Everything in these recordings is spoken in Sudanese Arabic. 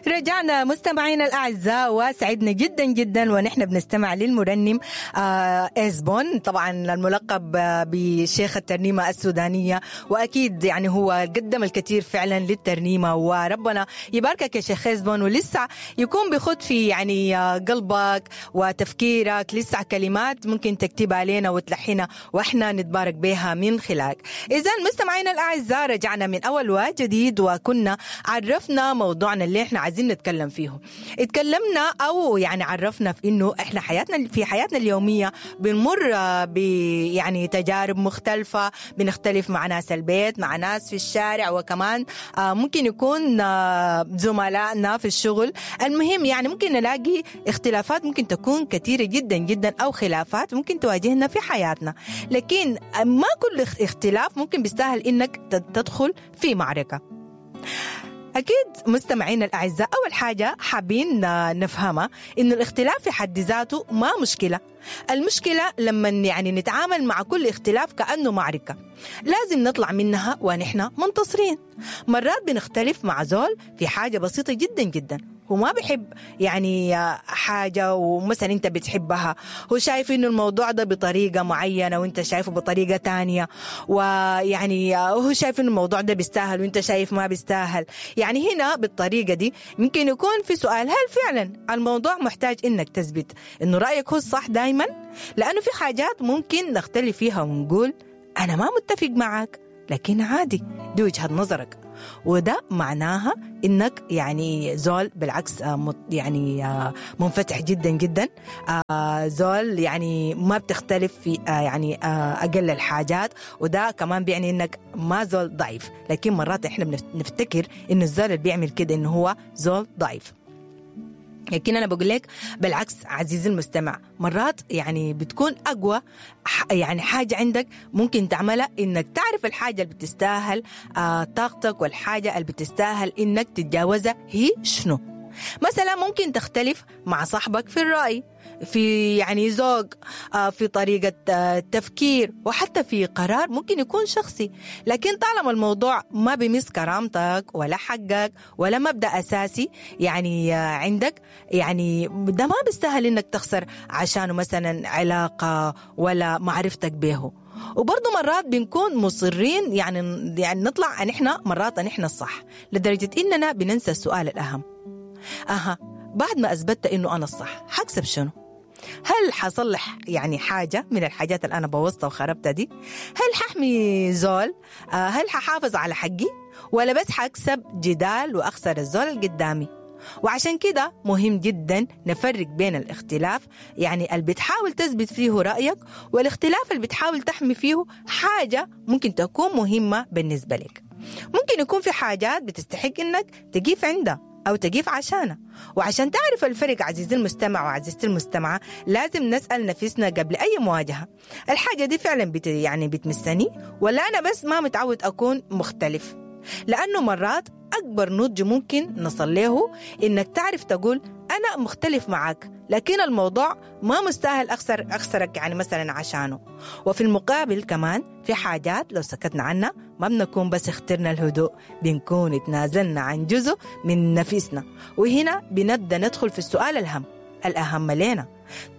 رجعنا مستمعينا الأعزاء، وسعدنا جدا جدا ونحن بنستمع للمرنم إزبون، طبعا الملقب بشيخ الترنيمة السودانية، وأكيد يعني هو قدم الكثير فعلا للترنيمة، وربنا يباركك يا شيخ إزبون، ولسه يكون بخد في يعني قلبك وتفكيرك لسه كلمات ممكن تكتبها لنا وتلحنها واحنا نتبارك بها من خلالك. إذا مستمعينا الأعزاء رجعنا من أول وجديد، وكنا عرفنا موضوعنا اللي احنا عايزين نتكلم فيه. اتكلمنا أو يعني عرفنا في إنه احنا حياتنا في حياتنا اليومية بنمر ب يعني تجارب مختلفة، بنختلف مع ناس البيت، مع ناس في الشارع، وكمان ممكن يكون زملائنا في الشغل. المهم يعني ممكن نلاقي اختلافات ممكن تكون كثيرة جدا جدا، أو خلافات ممكن تواجهنا في حياتنا، لكن ما كل اختلاف ممكن بيستاهل إنك تدخل في معركة. أكيد مستمعينا الأعزاء أول حاجة حابين نفهمها إنه الاختلاف في حد ذاته ما مشكلة. المشكلة لما يعني نتعامل مع كل اختلاف كأنه معركة لازم نطلع منها ونحن منتصرين. مرات بنختلف مع زول في حاجة بسيطة جدا جدا، هو ما بيحب يعني حاجة ومثلا انت بتحبها، هو شايف انه الموضوع ده بطريقة معينة وانت شايفه بطريقة تانية، ويعني هو شايف انه الموضوع ده بيستاهل وانت شايف ما بيستاهل. يعني هنا بالطريقة دي ممكن يكون في سؤال، هل فعلا الموضوع محتاج انك تثبت انه رأيك هو الصح دايما؟ لانه في حاجات ممكن نختلف فيها ونقول انا ما متفق معك، لكن عادي دي وجهة نظرك، وده معناها انك يعني زول بالعكس يعني منفتح جدا جدا، زول يعني ما بتختلف في يعني اقل الحاجات، وده كمان بيعني انك ما زول ضعيف. لكن مرات احنا بنفتكر انه الزول اللي بيعمل كده انه هو زول ضعيف، لكن أنا بقول لك بالعكس عزيزي المستمع، مرات يعني بتكون أقوى يعني حاجة عندك ممكن تعملها إنك تعرف الحاجة اللي بتستاهل طاقتك، والحاجة اللي بتستاهل إنك تتجاوزها هي شنو. مثلا ممكن تختلف مع صاحبك في الرأي، في يعني ذوق، في طريقة تفكير، وحتى في قرار ممكن يكون شخصي، لكن طالما الموضوع ما بيمس كرامتك ولا حقك ولا مبدأ أساسي يعني عندك، يعني ده ما بيستاهل إنك تخسر عشانه مثلا علاقة ولا معرفتك به. وبرضه مرات بنكون مصرين يعني نطلع نحن مرات نحن الصح، لدرجة إننا بننسى السؤال الأهم، بعد ما أثبتت إنه أنا الصح حكسب شنو؟ هل حصلح يعني حاجة من الحاجات اللي أنا بوظتها وخربتها دي؟ هل ححمي زول؟ هل ححافظ على حقي؟ ولا بس حكسب جدال وأخسر الزول اللي قدامي؟ وعشان كده مهم جدا نفرق بين الاختلاف يعني اللي بتحاول تثبت فيه رأيك، والاختلاف اللي بتحاول تحمي فيه حاجة ممكن تكون مهمة بالنسبة لك. ممكن يكون في حاجات بتستحق إنك تقيف عندها أو تقيف عشانها. وعشان تعرف الفرق عزيزي المستمع وعزيزتي المستمعة لازم نسأل نفسنا قبل أي مواجهة، الحاجة دي فعلا يعني بتمسني ولا أنا بس ما متعود أكون مختلف؟ لأنه مرات أكبر نضج ممكن نصل له إنك تعرف تقول أنا مختلف معك، لكن الموضوع ما مستاهل أخسرك يعني مثلا عشانه. وفي المقابل كمان في حاجات لو سكتنا عنها ما بنكون بس اخترنا الهدوء، بنكون اتنازلنا عن جزء من نفسنا. وهنا بنبدأ ندخل في السؤال الأهم لنا،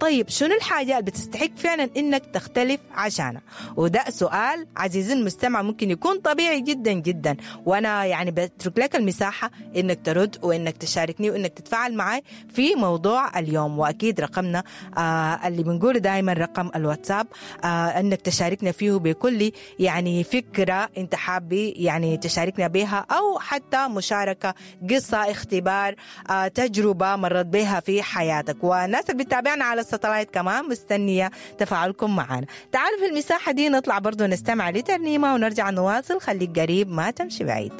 طيب شنو الحاجة اللي بتستحق فعلا إنك تختلف عشانها؟ وده سؤال عزيزي المستمع ممكن يكون طبيعي جدا جدا، وأنا يعني بترك لك المساحة إنك ترد وإنك تشاركني وإنك تتفاعل معي في موضوع اليوم. وأكيد رقمنا اللي بنقوله دائما رقم الواتساب، إنك تشاركنا فيه بكل يعني فكرة أنت حابي يعني تشاركنا بها، أو حتى مشاركة قصة، اختبار، تجربة مرت بها في حياتك. والناس اللي بتتابعنا على الستلايت كمان مستنية تفاعلكم معنا. تعالوا في المساحة دي نطلع برضو نستمع لترنيمة ونرجع نواصل. خليك قريب ما تمشي بعيد.